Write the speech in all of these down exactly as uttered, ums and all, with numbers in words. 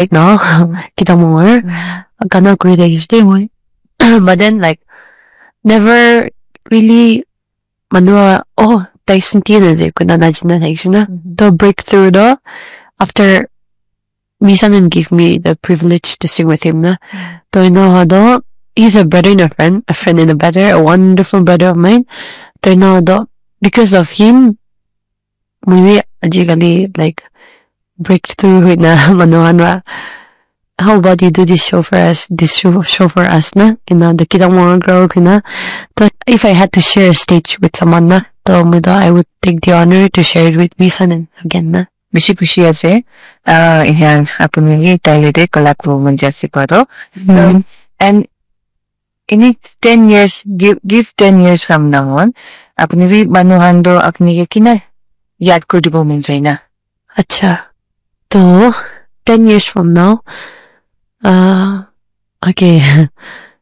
Right now, kita mongor gana kuri thakishe de moi. But then, like, never really manu, oh, tai senti na je kuna na jina thakishe na. To breakthrough do after Misanen give me the privilege to sing with him na. To ina ha do, he's a brother in a friend, a friend in a brother, a wonderful brother of mine. To ina ha do, because of him, moi ajikali, like, breakthrough hoina manu khan ra, "How about you do this show for us, this show, show for us na?" Ina the kita mongor girl kina. To if I had to share a stage with someone na, to moi to I would take the honor to share it with Misanen again na. Bishi khushi ase. Ah, iyan apuni hi taile de kala ko mon jase paro. And ini ten years, give, give ten years from now on, apuni bi manu khan to apuni ke kina yad kuri dibo mon jai na. Acha. To ten years from now, uh, okay,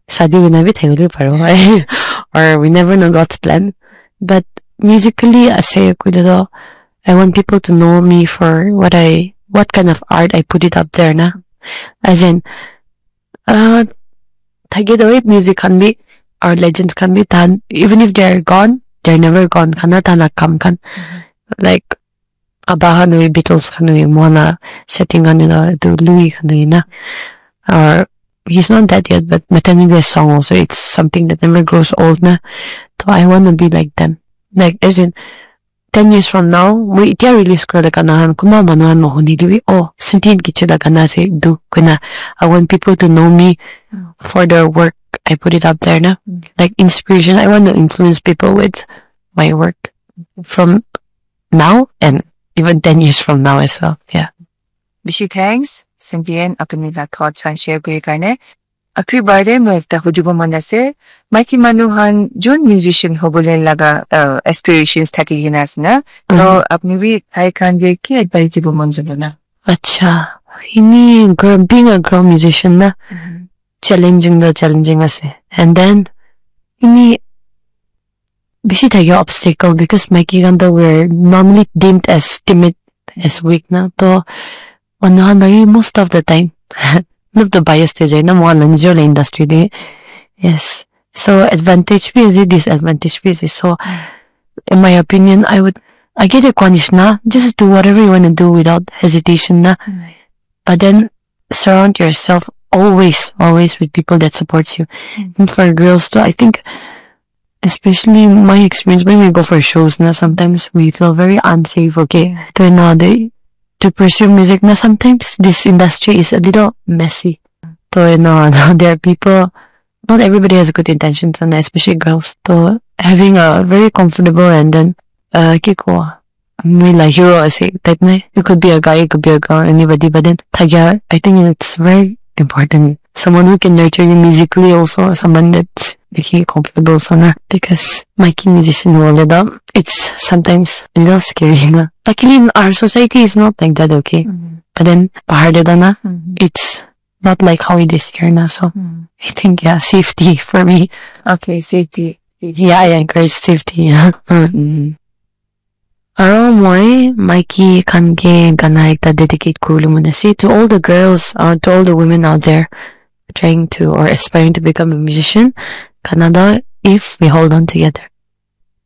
shadi hoina bi thakibole paribo, or we never know God's plan. But musically, ase koile to, I want people to know me for what I, what kind of art I put it up there na. As in, uh, thake to music khan bi, our legends khan bi, tan, even if they're gone, they're never gone, khana tan kam khan. Like, Abba khan wi, Beatles khan wi, moana setting khan wi, to Louis khan wi na. Or he's not dead yet, but Matani, their song also, it's something that never grows old na. So I want to be like them. Like, as in, ten years from now, moi itia release kura la gana khan kunba manu khan mohuni dibi, oh, Sentient Kichu la gana ase etu koina. I want people to know me for the work I put it up there na. Like inspiration, I want to influence people with my work from now and even ten years from now as well. Yeah. Bishi thanks, Sentient, apuni la thoughts khan share kuri karne. Akhir bar de moi ekta hudibo mon ase, maiki manu khan jun musician hobole laga, uh, aspirations thaki kina ase na. To apuni bi tai khan ke ki advice dibo mon jabo na? Acha, ini girl, being a girl musician na, challenging the challenging ase. And then, ini bishi thake obstacle because maiki khan to we're normally deemed as timid, as weak na. To manu khan bari most of the time, not the bias te jai na, mohan la nijor la industry de. Yes. So advantage bi ase, disadvantage bi ase. So in my opinion, I would, I get a koa nishina, just do whatever you want to do without hesitation na. But then surround yourself always, always with people that supports you. And for girls too, I think, especially my experience, when we go for shows na, sometimes we feel very unsafe, okay? To now they, to pursue music na, sometimes this industry is a little messy. To now there are people, not everybody has good intentions, and especially girls. To having a very comfortable and then, uh, ki koa, moi la hero ase type na. It could be a guy, it could be a girl, anybody. But then thakya, I think it's very important. Someone who can nurture you musically also, someone that's making you comfortable so na. Because maiki musician hole da, it's sometimes a little scary na. Luckily in our society, it's not like that, okay? But then bahar de da na, it's not like how it is here na. So I think, yeah, safety for me. Okay, safety. Yeah, I encourage safety. Yeah. Aro moi maiki khan ke gana ekta dedicate kuribole mon ase, to all the girls or to all the women out there trying to or aspiring to become a musician. Gana toh, If We Hold On Together.